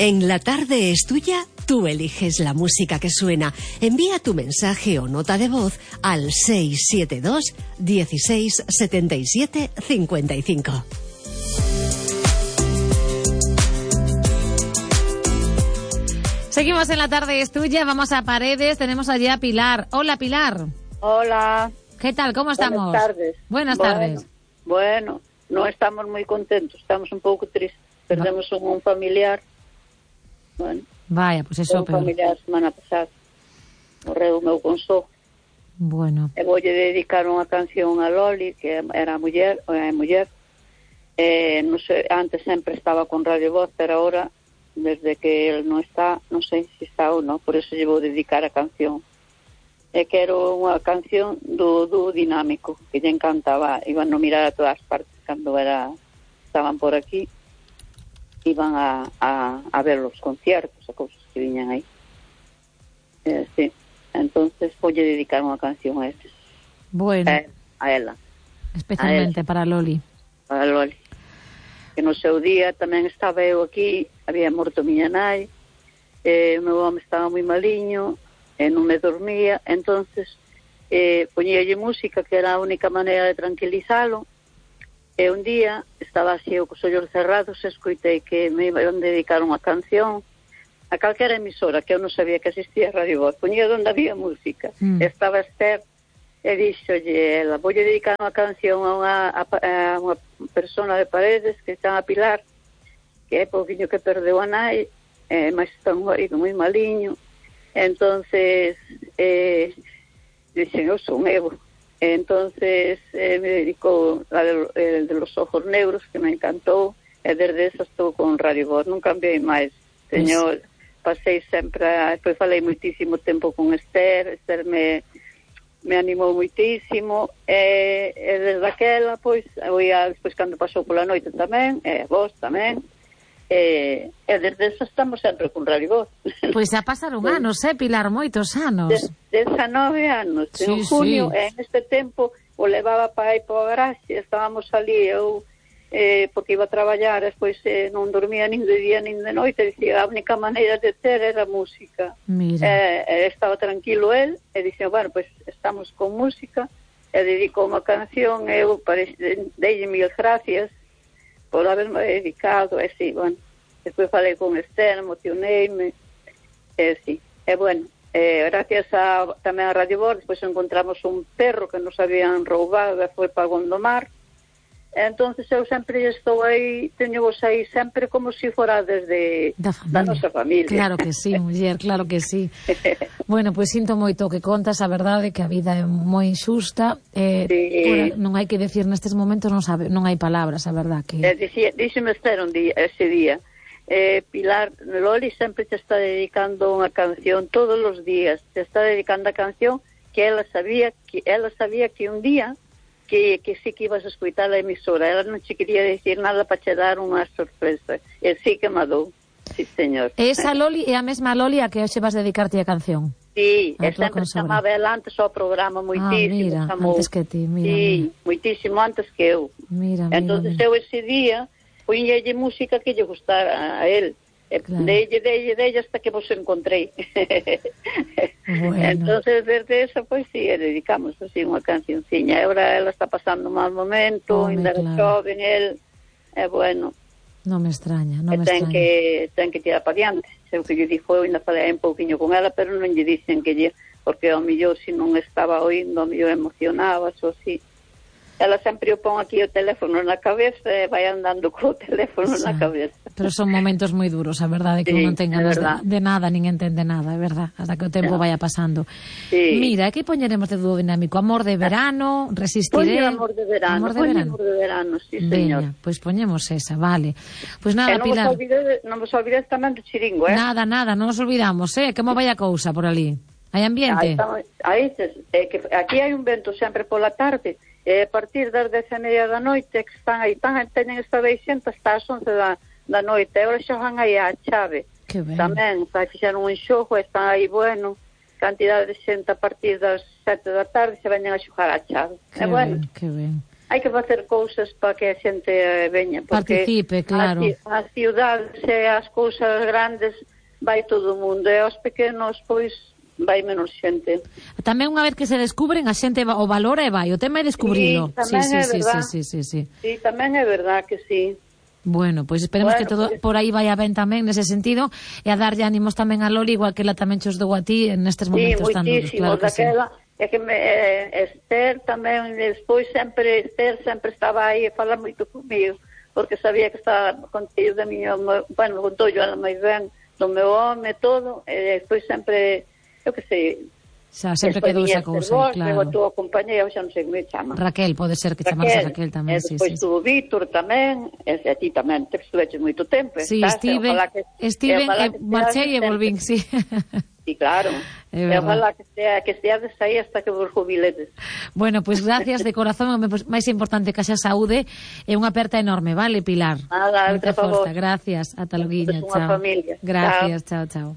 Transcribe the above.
En La Tarde es Tuya, tú eliges la música que suena. Envía tu mensaje o nota de voz al 672 16 77 55. Seguimos en La Tarde es Tuya, vamos a Paredes, tenemos allí a Pilar. Hola, Pilar. Hola. ¿Qué tal? ¿Cómo estamos? Buenas tardes. Buenas tardes. Bueno, no estamos muy contentos, estamos un pouco tristes. Perdemos un familiar. Bueno, vaya, pues eso, un familiar a semana pasada. Morreu o meu consó. Bueno. E voulle dedicar unha canción a Loli, que era muller, é muller. Non sei, antes sempre estaba con Radio Voz, pero ahora, desde que él non está, non sei se está ou non, por eso lle vou dedicar a canción. E quero unha canción do Dinámico, que lle encantaba, iban a mirar a todas partes cando estaban por aquí, iban a ver los conciertos, a cousas que viñan aí. Sí, entonces voulle dedicar unha canción a estes. Bueno. A ela. Especialmente para Loli. Para Loli. Que no seu día tamén estaba eu aquí, había morto miña nai, o meu home estaba moi maliño, e non me dormía, entonces poñíalle música, que era a única maneira de tranquilizalo, e un día estaba así eu cos ollos cerrados e escoitei que me iban dedicar unha canción a calquera emisora, que eu non sabía que existía Radio Voz, poñía onde había música. Estaba Esther e dixolle ela, voulle dedicar unha canción a unha persona de Paredes que está a Pilar, que é pouquiño que perdeu a nai, mas está un marido moi maliño. Entonces dixen, eu son eu. Entonces me dedicou el de los ojos negros, que me encantou, e desde eso estou con Radio Voz, non cambiei máis, señor. Pasei sempre, depois falei moitísimo tempo con Esther me animou moitísimo, e desde aquela, pois, despois cando pasou pola noite tamén, e vos tamén, e desde eso estamos sempre con Radio Voz. Pois xa pasaron anos, Pilar, moitos anos. 19 anos, sí, en junio, sí. En este tempo o levaba para aí para o garaxe, estábamos ali, eu porque iba a traballar, despois non dormía nin de día nin de noite, dicía, a única maneira de ter era música. Estaba tranquilo el, e dixen, bueno, pois estamos con música, e dedicou unha canción, e eu deille mil gracias por haberme dedicado, e sí, bueno, despois falei con Esther, emocioneime, e sí, e bueno, gracias tamén a Radio Voz, despois encontramos un perro que nos habían roubado e foi para Gondomar. Entonces eu sempre estou aí, teño vos aí sempre como se fora desde da nosa familia. Claro que sí, muller, claro que sí. Bueno, pois sinto moito que contas a verdade, que a vida é moi injusta, sí. Non hai que decir nestes momentos, non hai palabras, a verdade que... Díxeme Esther un día, ese día, Pilar, Loli sempre te está dedicando unha canción todos os días, te está dedicando a canción que ela sabía que un día que sí que ibas a escoitar a emisora, ela non che quería decir nada para che dar unha sorpresa, e sí que me dou, sí señor. Esa Loli é a mesma Loli a que hoxe vas dedicarte a canción? Sí, e sempre chamaba ela antes ao programa moitísimo. Mira, antes que ti, mira. Sí, moitísimo antes que eu. Entonces eu ese día poñelle música que lle gustara a él. Claro. Deille hasta que vos encontrei. Bueno. Entonces desde eso pois sí, dedicamos así unha cancionciña. Ahora ela está pasando un mal momento, ainda é joven el, bueno, non me extraña, non me extraña. Ten que tirar para diante. Sei que lle dixo, eu ainda falei un pouquiño con ela, pero non lle dicen que lle, porque ao millor se non estaba oindo, ao millor emocionaba, ou así. Ela sempre o pon aquí o teléfono na cabeza e vai andando co teléfono na cabeza. Pero son momentos moi duros, a verdade, que non ten ganas de nada, nin entende nada, é verdade, hasta que o tempo vaya pasando. Sí. Mira, que poñeremos de dúo dinámico? Amor de verano, resistiré... Amor de verano, Amor de verano, sí, señor. Veña, pois poñemos esa, vale. Pois nada, Pilar... Non vos olvides tamén do chiringo, Nada, non nos olvidamos, que mo vai a cousa por ali. Hai ambiente? Que aquí hai un vento sempre pola tarde, e a partir das 10:30 da noite que están aí, teñen esta veixenta hasta as 11 da noite, e ahora xa van aí a chave tamén, fixeron un xogo, están aí, bueno, cantidade de xente a partir das 7 da tarde se veñen a xogar a chave, que ben. hai que facer cousas para que a xente veña, porque participe, claro. As ciudades e as cousas grandes vai todo o mundo, e aos pequenos, pois, vai menos xente. Tamén unha vez que se descubren, a xente o valora e vai, o tema é descubrilo. Sí, tamén é verdad que sí. Bueno, pois esperemos que todo por aí vaya ben tamén nese sentido, e a darlle ánimos tamén a Loli, igual que ela tamén chos dou a ti nestes momentos tan duros. Claro que daquela, é que Esther tamén, despois Esther sempre estaba aí a falar moito comigo, porque sabía que estaba contigo de miño, bueno, contou yo ela moi ben, do meu home, todo, e despois sempre, eu que sei, xa, sempre quedou esa cousa, claro. A túa compañera, xa non sei como me chama. Raquel, pode ser que chamarse Raquel tamén, sí. Despois tuvo Víctor tamén, e a ti tamén, te estuveches moito tempo. Sí, estive, marchei e volvín, sí. Sí, claro. E ojalá que esteades aí hasta que vos jubiledes. Bueno, pois gracias de corazón, máis importante que xa saúde, e unha aperta enorme, vale, Pilar? Nada, moita forza, gracias, ata loguiña, chao. Familia. Gracias, chao.